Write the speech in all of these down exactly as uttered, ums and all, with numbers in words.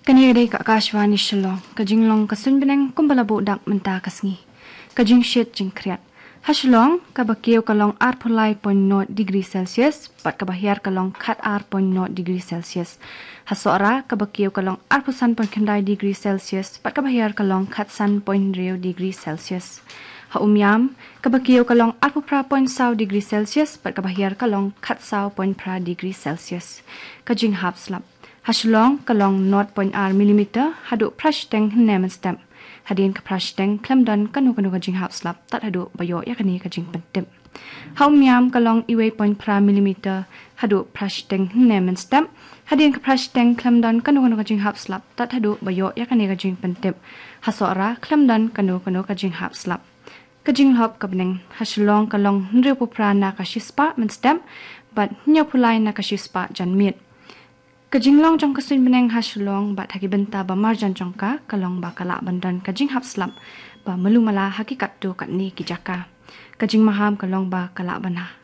Kane ka dei ka Akashvani Shillong, ka jinglong ka suiñ bneng kumba la buh dak mynta ka sngi. Ka jingshit jingkhriat. Ha Shillong, kaba kiew ka long arphew lai point nod degree Celsius, bad kaba hiar ka long khat ar point nod degree Celsius. Ha Sohra, kaba kiew ka long arphew san point khyndai degree Celsius, bad kaba hiar ka long khat san point hynriew degree Celsius. Ha Umiam, kaba kiew ka long arphew phra point saw degree Celsius, bad kaba hiar ka long khat saw point phra degree Celsius. Ka jinghap slap. Ha Shillong, ka long nod point ar millimeter, haduh phra shiteng hynne mynstep. Hadien ka phra shiteng, khlem don kano kano ka jinghap slap, tad haduh ba ïoh ïa kane ka jingpyntip. Ha Umiam, ka long iwei point phra millimeter, haduh phra shiteng hynne mynstep. Hadien ka phra shiteng, khlem don kano kano ka jinghap slap, tad haduh ba ïoh ïa kane ka jingpyntip. Ha Sohra, khlem don kano kano ka jinghap slap. Ka jinglop ka bneng. Ha Shillong, ka long hynriewphew phra na ka shispah mynstep, bad hynñiewphew lai na ka shispah janmiet. Ka jinglong jong ka suiñ bneng ha Shillong bad ha ki bynta ba marjan jong ka, ka long ba ka lah ban don ka jinghap slap ba malu mala ha ki katto katne ki jaka. Ka jingmaham ka long ba ka lah ban ha-,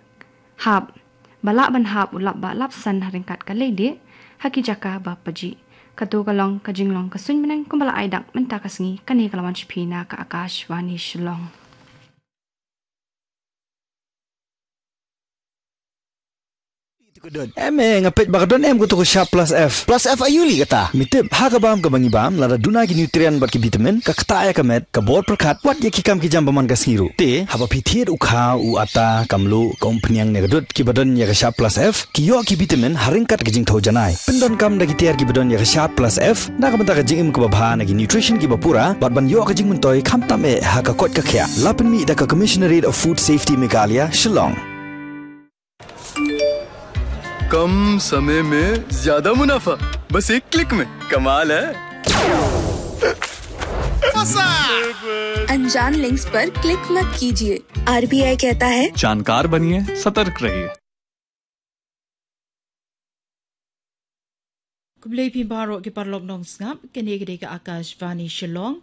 hap, ba lah ban hap u lap bah lap san ha ryngkat ka leilieh ha ki jaka ba pajih. Kato ka long ka jinglong ka suiñ bneng kumba la ai dak mynta ka sngi. Kane ka la wan sha phi na ka Akashvani Shillong. Em, eh, nga peit ba ka don em kato ka Sharp Plus F. Plus F aïu lei kata? Me tip, ha ka bam kaba ngi bam, lada duna ki nutrient bad ki vitamin, ka ktah ïa ka met, ka bor pyrkhat, wat ïa ki kam ki jam ba man ka sngi ruh. Te, haba phi thied u kha, u atta, ka mluh, ka umphniang ne ka dud, kiba don ïa ka Sharp Plus F, ki ïoh ki vitamin ha ryngkat ka jingthew janai. Pyndonkam da ki tiar kiba don ïa ka Sharp Plus F, na ka bynta ka jingim kaba bha, na ki nutrition kiba pura, bad ban ïoh ka jingmyntoi khamtam eh ha ka koit ka khiah. La pynmih da ka Commissionerate of Food Safety Meghalaya, Shillong. कम समय में ज्यादा मुनाफा, बस एक क्लिक में। कमाल है। अनजान लिंक्स पर क्लिक मत कीजिए। आरबीआई कहता है, जानकार बनिए, सतर्क रहिए। Khublei phi baroh ki paralok nongsngap, kane ka dei ka Akashvani Shillong,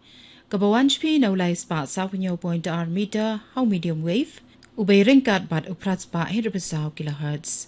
kaba wan sha phi na u lai spah saw hynñiew point ar meter, ha u medium wave, u bei ryngkat bad u phra spah hynriew phew saw kilohertz.